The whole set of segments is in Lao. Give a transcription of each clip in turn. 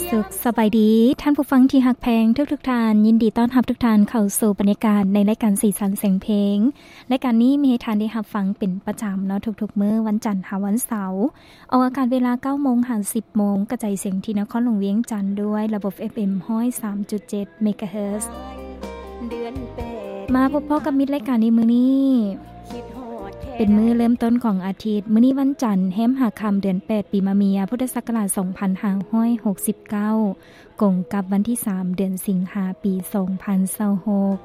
ສຸກສະບາຍດີ ທ່ານຜູ້ຟັງທີ່ຮັກແພງທຸກໆທ່ານ, ຍິນດີຕ້ອນຮັບທຸກທ່ານເຂົ້າສູ່ບັນຍາກາດໃນລາຍການສີສັນສຽງເພງ. ລາຍການນີ້ມີໃຫ້ທ່ານໄດ້ຮັບຟັງເປັນປະຈຳເນາະ ທຸກໆມື້ວັນຈັນຫາວັນເສົາ, ອອກອາກາດເວລາເກົ້າໂມງຫາສິບໂມງ, ກະຈາຍສຽງທີ່ນະຄອນຫຼວງວຽງຈັນດ້ວຍລະບົບ ເອັຟເອັມ ຮ້ອຍສາມຈຸດເຈັດ ເມກາເຮີດ. ມາພົບພໍ້ກັບມິດລາຍການໃນມື້ນີ້ ເປັນມື້ເລີ່ມຕົ້ນຂອງອາທິດ. ມື້ນີ້ວັນຈັນ ແຮມຫ້າຄ່ຳ ເດືອນແປດ ປີມະເມຍ ພຸດທະສັກກະລາດ ສອງພັນຫ້າຮ້ອຍຫົກສິບເກົ້າ ກົງກັບວັນທີສາມ ເດືອນສິງຫາ ປີສອງພັນຊາວຫົກ.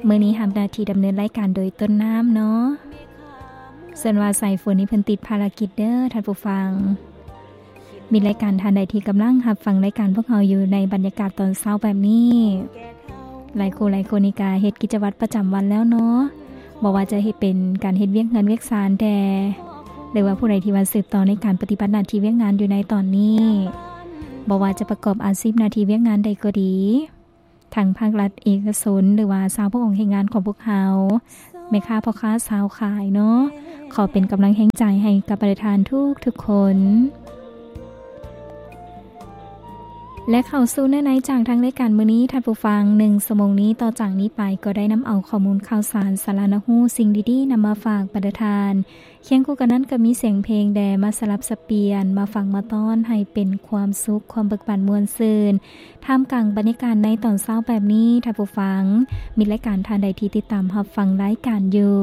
ມື້ນີ້ຮັບໜ້າທີ່ດຳເນີນລາຍການໂດຍຕົ້ນນ້ຳເນາະ, ສ່ວນວ່າສາຍຝົນນີ້ເພິ່ນຕິດພາລະກິດເດີທ່ານຜູ້ຟັງ. ມີລາຍການທ່ານໃດທີ່ກຳລັງຮັບຟັງລາຍການພວກເຮົາຢູ່ໃນບັນຍາກາດຕອນເຊົ້າແບບນີ້, ຫຼາຍຄູ່ຫຼາຍຄົນນີ້ກະເຮັດກິດຈະວັດປະຈຳວັນແລ້ວເນາະ, ບໍ່ວ່າຈະເຮັດເປັນການເຮັດວຽກເຮືອນວຽກຊານແດ່ ຫຼືວ່າຜູ້ໃດທີ່ວ່າສືບຕໍ່ໃນການປະຕິບັດໜ້າທີ່ວຽກງານຢູ່ໃນຕອນນີ້, ບໍ່ວ່າຈະປະກອບອາຊີບໜ້າທີ່ວຽກງານໃດກໍດີ, ທັງພາກລັດເອກະຊົນ ຫຼືວ່າຊາວຜູ້ອອກແຮງງານຂອງພວກເຮົາ, ແມ່ຄ້າພໍ່ຄ້າຊາວຂາຍເນາະ, ຂໍເປັນກຳລັງແຮງໃຈໃຫ້ກັບບັນດາທ່ານທຸກໆຄົນ. ແລະ ເຂົ້າສູ່ເນື້ອໃນຈາກທາງລາຍການມື້ນີ້ ທ່ານຜູ້ຟັງ, ໜຶ່ງຊົ່ວໂມງນີ້ ຕໍ່ຈາກນີ້ໄປກໍໄດ້ນຳເອົາຂໍ້ມູນຂ່າວສານ, ສາລະໜ້າຮູ້, ສິ່ງດີໆນຳມາຝາກບັນດາທ່ານ. ຄຽງຄູ່ກັນນັ້ນກໍມີສຽງເພງແດ່ ມາສະຫຼັບສັບປ່ຽນ, ມາຟັງມາຕ້ອນໃຫ້ເປັນຄວາມສຸກ, ຄວາມເບີກບານມ່ວນຊື່ນ ທ່າມກາງບັນຍາກາດໃນຕອນເຊົ້າແບບນີ້. ທ່ານຜູ້ຟັງ, ມີລາຍການທ່ານໃດທີ່ຕິດຕາມຮັບຟັງລາຍການຢູ່,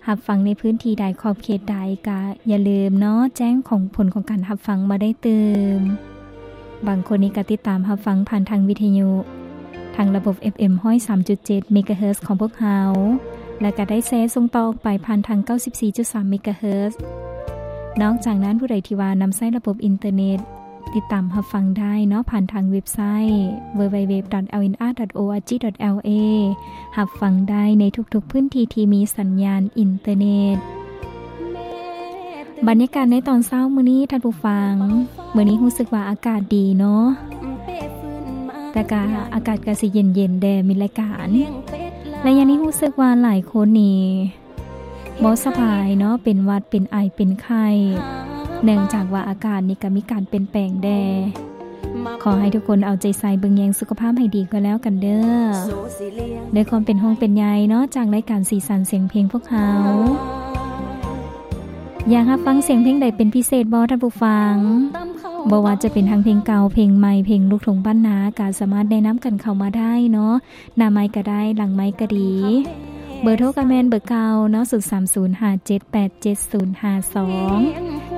ຮັບຟັງໃນພື້ນທີ່ໃດ, ຂອບເຂດໃດ, ກະຢ່າລືມເນາະ, ແຈ້ງຂອງ ຜົນຂອງການຮັບຟັງມາໄດ້ຕື່ມ. ບາງຄົນນີ້ກະຕິດຕາມຮັບຟັງຜ່ານທາງວິທະຍຸ, ທາງລະບົບ ເອັຟເອັມ ຮ້ອຍສາມຈຸດເຈັດ ເມກາເຮີດຂອງພວກເຮົາ, ແລະ ກະໄດ້ແຊສົ່ງຕໍ່ອອກໄປຜ່ານທາງ ເກົ້າສິບສີ່ຈຸດສາມ ເມກາເຮີດ. ນອກຈາກນັ້ນ, ຜູ້ໃດທີ່ວ່ານຳໃຊ້ລະບົບອິນເຕີເນັດ, ຕິດຕາມຮັບຟັງໄດ້ເນາະ ຜ່ານທາງເວັບໄຊ ดัບເບິນຢູດັບເບິນຢູດັບເບິນຢູດັບເບິນຢູ ດອດ ແອລ ເອ ດອດ ໂອ ອາ ຈີ ດອດ ແອລ ເອ ຮັບຟັງໄດ້ໃນທຸກໆພື້ນທີ່ທີ່ມີສັນຍານອິນເຕີເນັດ. ບັນຍາກາດໃນຕອນເຊົ້າມື້ນີ້ທ່ານຜູ້ຟັງ, ມື້ນີ້ຮູ້ສຶກວ່າອາກາດດີເນາະ, ແຕ່ກະອາກາດກະຊິເຢັນໆແດ່ມິດລາຍການ. ໄລຍະນີ້ຮູ້ສຶກວ່າຫຼາຍຄົນນີ້ ບໍ່ສະບາຍເນາະ, ເປັນຫວັດ ເປັນໄອ ເປັນໄຂ້, ເນື່ອງຈາກວ່າອາກາດນີ້ກະມີການປ່ຽນແປງແດ່. ຂໍໃຫ້ທຸກຄົນເອົາໃຈໃສ່ເບິ່ງແຍງສຸຂະພາບໃຫ້ດີກໍແລ້ວກັນເດີ. ດ້ວຍຄວາມເປັນຫ່ວງເປັນໃຍເນາະ ຈາກລາຍການສີສັນສຽງເພງພວກເຮົາ. ຢາກຮັບຟັງສຽງເພງໃດເປັນພິເສດບໍ່ທ່ານຜູ້ຟັງ? ບໍ່ວ່າຈະເປັນທັງເພງເກົ່າ, ເພງໃໝ່, ເພງລູກທົ່ງບ້ານນາ ກະສາມາດແນະນຳກັນເຂົ້າມາໄດ້ເນາະ. ໜ້າໄມກະໄດ້, ຫຼັງໄມກະດີ. ເບີໂທກະແມ່ນເບີເກົ່າເນາະ, ສູນສາມສູນຫ້າເຈັດແປດເຈັດສູນຫ້າສອງ.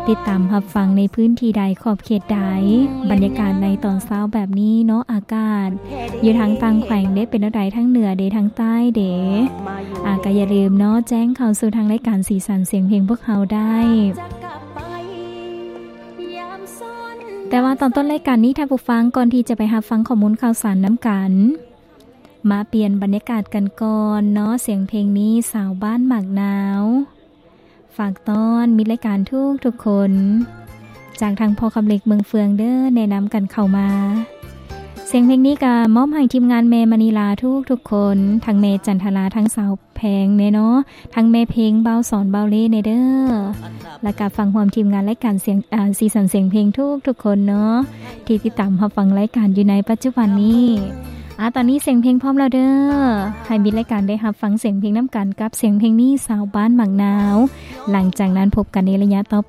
ຕິດຕາມຮັບຟັງໃນພື້ນທີ່ໃດ, ຂອບເຂດໃດ, ບັນຍາກາດໃນຕອນເຊົ້າແບບນີ້ເນາະ, ອາກາດຢູ່ທາງຕ່າງແຂວງເດ້, ເປັນແນວໃດທາງເໜືອເດ້, ທາງໃຕ້ເດ້. ອາ, ກະຢ່າລືມເນາະ, ແຈ້ງເຂົ້າສູ່ທາງລາຍການສີສັນສຽງເພງພວກເຮົາໄດ້. ແຕ່ວ່າຕອນຕົ້ນລາຍການນີ້, ທ່ານຜູ້ຟັງ, ກ່ອນທີ່ຈະໄປຮັບຟັງຂໍ້ມູນຂ່າວສານນຳກັນ, ມາປ່ຽນບັນຍາກາດກັນກ່ອນເນາະ. ສຽງເພງນີ້ ສາວບ້ານໝາກນາວ ຝາກຕ້ອນມິດລາຍການທຸກໆຄົນ ຈາກທາງພໍ່ຄຳເລັກເມືອງເຟືອງເດີ ແນະນຳກັນເຂົ້າມາ. ສຽງເພງນີ້ກະມອບໃຫ້ທີມງານແມ່ມະນີລາທຸກໆຄົນ, ທັງແມ່ຈັນທະລາ, ທັງສາວແພງແນ່ເນາະ, ທັງແມ່ເພງ, ບ່າວສອນ, ບ່າວເລ່ແນ່ເດີ. ແລ້ວກະຟັງຮ່ວມທີມງານລາຍການສຽງ ອາ ສີສັນສຽງເພງທຸກໆຄົນເນາະ ທີ່ຕິດຕາມຮັບຟັງລາຍການຢູ່ໃນປັດຈຸບັນນີ້. ອາ ຕອນນີ້ສຽງເພງພ້ອມແລ້ວເດີ. ໃຫ້ມິດລາຍການໄດ້ຮັບຟັງສຽງເພງນຳກັນກັບສຽງເພງນີ້ ສາວບ້ານໝາກນາວ. ຫຼັງຈາກນັ້ນພົບກັນໃນໄລຍະຕໍ່ໄປ.